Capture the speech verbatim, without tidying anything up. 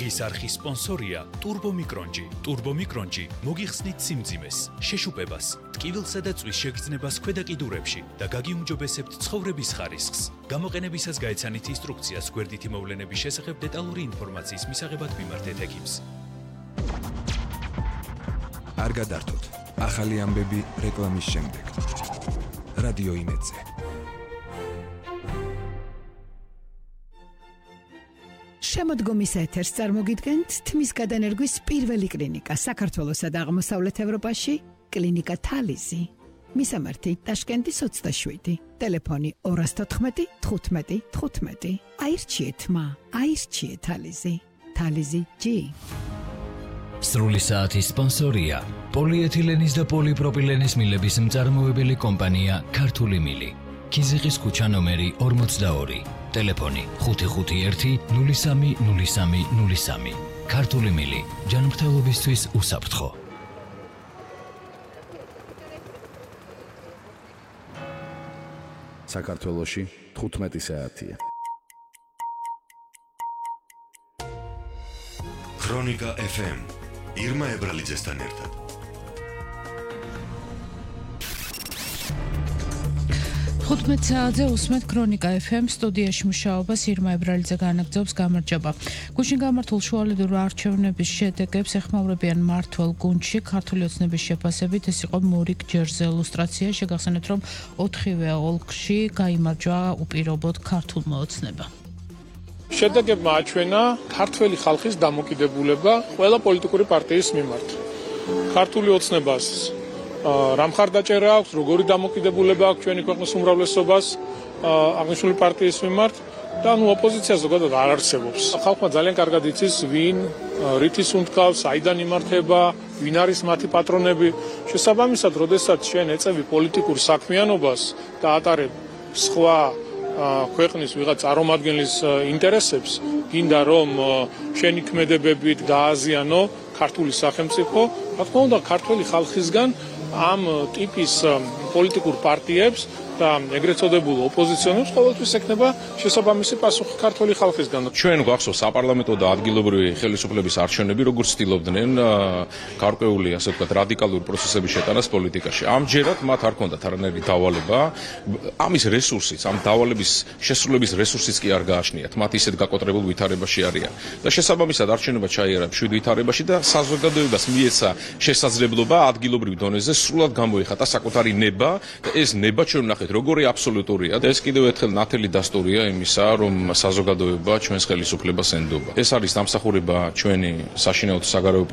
დღის არხის სპონსორია Turbo Micronji. Turbo Micronji მოგიხსნით სიმძიმეს, შეშუპებას, ტკივილსა და წვის შეგრძნებას ქვედა კიდურებში და გაგიუმჯობესებთ ცხოვრების ხარისხს. გამოყენებისას გაეცანით ინსტრუქციას გვერდითი მოვლენების შესახებ დეტალური ინფორმაციის მისაღებად მიმართეთ ექიმს. არ გადართოთ. ახალი ამბები რეკლამის შემდეგ. რადიო იმედზე. შემოდგომის ეთერს წარმოგიდგენთ თმის გადანერგვის პირველი კლინიკა საქართველოსა და აღმოსავლეთ ევროპაში, კლინიკა თალიზი. მისამართი ტაშკენტის ოცდაშვიდი, ტელეფონი ორას თოთხმეტი თხუთმეტი თხუთმეტი. აირჩიეთ მა, აირჩიეთ თალიზი. თალიზი ჯი. სრული საათის სპონსორია პოლიეთილენის და პოლიპროპილენის მილების მწარმოებელი კომპანია ქართული მილი. ქიზიყის ქუჩა ნომერი ორმოცდაორი. ტელეფონი ხუთი ხუთი ერთი ნული სამი ნული სამი ნული სამი. ქართული მილი ჯანმრთელობისთვის უსაფრთხო. საქართველოში თხუთმეტი საათია. ქრონიკა ეფ ემ ირმა ებრალიძესთან ერთად. თხუთმეტ საათზე უსმენთ ქრონიკა ეფ ემ სტუდიაში მუშაობას ირმა ებრალიძე განაგრძობს. გამარჯობა. გუშინ გამართულ შუალედური არჩევნების შედეგებს ეხმაურებიან მმართველ გუნდში. ქართული ოცნების შეფასებით ეს იყო მორიგ ჯერზე ილუსტრაცია. შეგახსენეთ, რომ ოთხივე ოლქში გაიმარჯვა უპირობოდ ქართულმა ოცნება. შედეგებმა აჩვენა ქართველი ხალხის დამოკიდებულება ყველა პოლიტიკური პარტიის მიმართ. ქართული ოცნებას რა მხარდაჭერა აქვს, როგორი დამოკიდებულება აქვს ჩვენი ქვეყნის უმრავლესობას აღნიშნული პარტიის მიმართ და ნუ ოპოზიცია ზოგადად არ არსებობს. ხალხმა ძალიან კარგად იცის, ვინ რითის უნდკავს, საიდან იმართება, ვინ არის მათი პატრონები. შესაბამისად, როდესაც შენ ეწევი პოლიტიკურ საქმიანობას და ატარებ სხვა ქვეყნის ვიღაც წარმომადგენლის ინტერესებს, გინდა რომ შენი ქმედებებით დააზიანო ქართული სახელმწიფო, რა თქმა უნდა, ქართული ხალხისგან ამ ტიპის პოლიტიკურ პარტიებს და ეგრეთ წოდებულ ოპოზიციონერებს ყოველთვის ექნება შესაბამისი პასუხი ქართული ხალხისგან. ჩვენ გვახსოვს საპარლამენტო და ადგილობრივი ხელისუფლების არჩევნები, როგორც ცდილობდნენ გარკვეული, ასე ვთქვათ, რადიკალური პროცესების შეტანას პოლიტიკაში. ამჯერად მათ არ ჰქონდათ არანაირი დავალება, ამის რესურსიც, ამ დავალების შესრულების რესურსიც კი არ გააჩნიათ. მათ ისეთ გაკოტრებულ ვითარებაში არიან. და შესაბამისად არჩევნობა ჩაიარა მშვიდ ვითარებაში და საზოგადოებას მიეცა შესაძლებლობა ადგილობრივ დონეზე სრულად გამოიხატა საკუთარი ნება და ეს ნება ჩვენ ვნახეთ როგორი აბსოლუტურია და ეს კიდევ ერთხელ ნათელი დასტურია იმისა, რომ საზოგადოება ჩვენს ხელისუფლებას ენდობა. ეს არის დამსახურება ჩვენი საშინაო და საგარეო